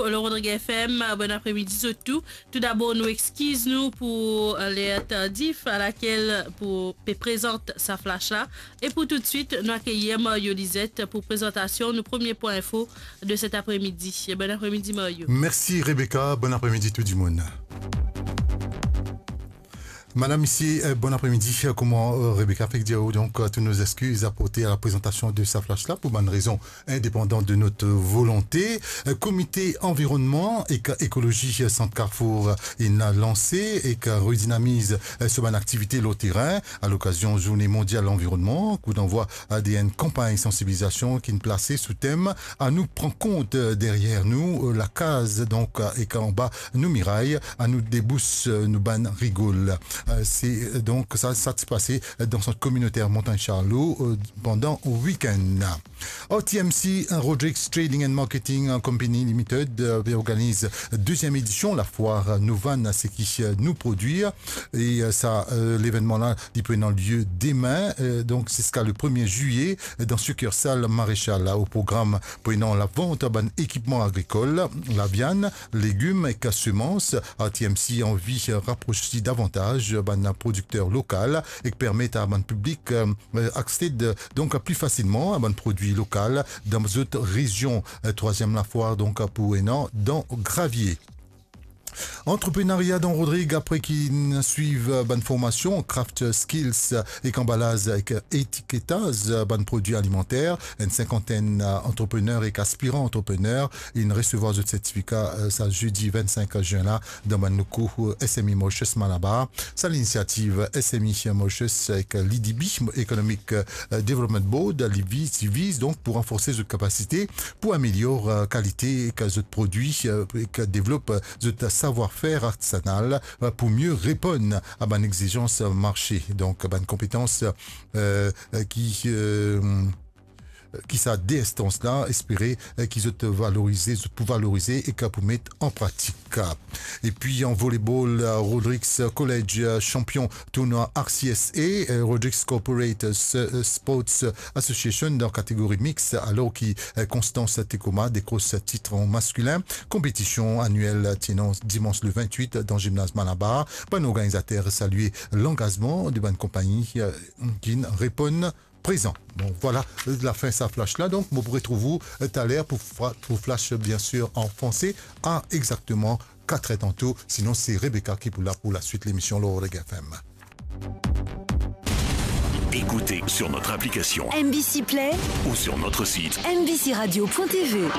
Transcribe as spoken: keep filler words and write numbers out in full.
Lor Rodrigues F M, bon apremidi zot tou. Toudabor, nou exkiz nou pou, euh, ler tardif alakel pou pe prezant sa flash la. E pou toutswit, nou akeyir Mario Lizette pou prezantasion nou premie pwin info de set apremidi. Bon apremidi, Mario. Mersi, Rebecca. Bon apremidi, tou dimoun. Madam, misie, euh, bon apremidi. Kouma, euh, Rebecca fek dir ou, donk, euh, tou nou exkiz aporte a la prezantasion de sa flash la pou bann rezon indepandan de not volonte. Euh, Komite Anvironnman ek Ekolozi Sant Carrefour, euh, inn lanse ek redinamiz, euh, so bann aktivite lor terin a lokazion Zourne Mondial Lanvironnman, kouddanvwa a de enn kanpagn sansibilizasion ki'nn plase sou tem "Anou pran kont, euh, deryer nou, euh, lakaz, donk, euh, ek anba nou miray, anou debous, euh, nou bann rigol." Euh, se, euh, donk, sa, sa ti pase, euh, dan sant kominoter Montagne Charlot, euh, pandan wikenn. R T M C, Rodrigues Trading and Marketing Company Limited, euh, pe organiz deziem edision lafwar "Nou Vann, Seki Nou Prodwir". E, euh, sa, euh, levennman la, li pou ena lie demin, euh, donk ziska le premie zilye, euh, dan sikirsal Maréchal. Au program, pou ena lavant bann ekipman agrikol, laviann, legim ek semans. R T M C anvi rapros li davantaz bann prodikter lokal ek permet a bann piblik, euh, aksed, donk, pli fasilman a bann prodwi lokal dan zot rezion. Euh, trwaziem lafwar, donk, pou ena dan Gravier. Antreprenaria dan Rodrigues, apre ki'nn swiv bann formasion craft skills ek anbalaz ek etiketaz bann prodwi alimanter, enn sinkantenn antreprener ek aspiran antreprener inn resevwar zot sertifika, euh, sa zedi vennsink zin la, dan bann loko, euh, S M E Mauritius Malabar. Sa linisiativ S M E Mauritius ek l'I D B, Economic, euh, Development Board, li viz, li viz donk pou ranforse zot kapasite pou amelior, euh, kalite ek zot prodwi, euh, ek devlop zot savwar-fer artizanal, euh, pou mie reponn a bann exizans marse. Donk, bann konpetans, euh, ki, euh, ki sa de enstans la espere, eh, ki zot valorize, zot pou valorize ek pou met an pratik. Epi an volebol, eh, Rodrigues College, eh, sanpion tournwa R C S A, eh, Rodrigues Corporate, eh, Sports Association dan kategori mix, alor ki, eh, Constance Tekoma dekros tit an maskilin. Konpetision aniel ti ena dimans le vintwit dan zimnaz Malabar. Bann organizater salie langazman de bann konpagni, eh, ki'nn reponn prezan. Bon, vwala, lafin sa flash la. Donk, mo pou retrouv ou, euh, taler pou fra-, pou flash, bien sir, an franse, a exakteman kat er tanto. Sinon, se Rebecca ki pou la pou laswit lemision lor Rodrigues F M. Écoutez sur notre application M B C Play ou sur notre site M B C radio point T V.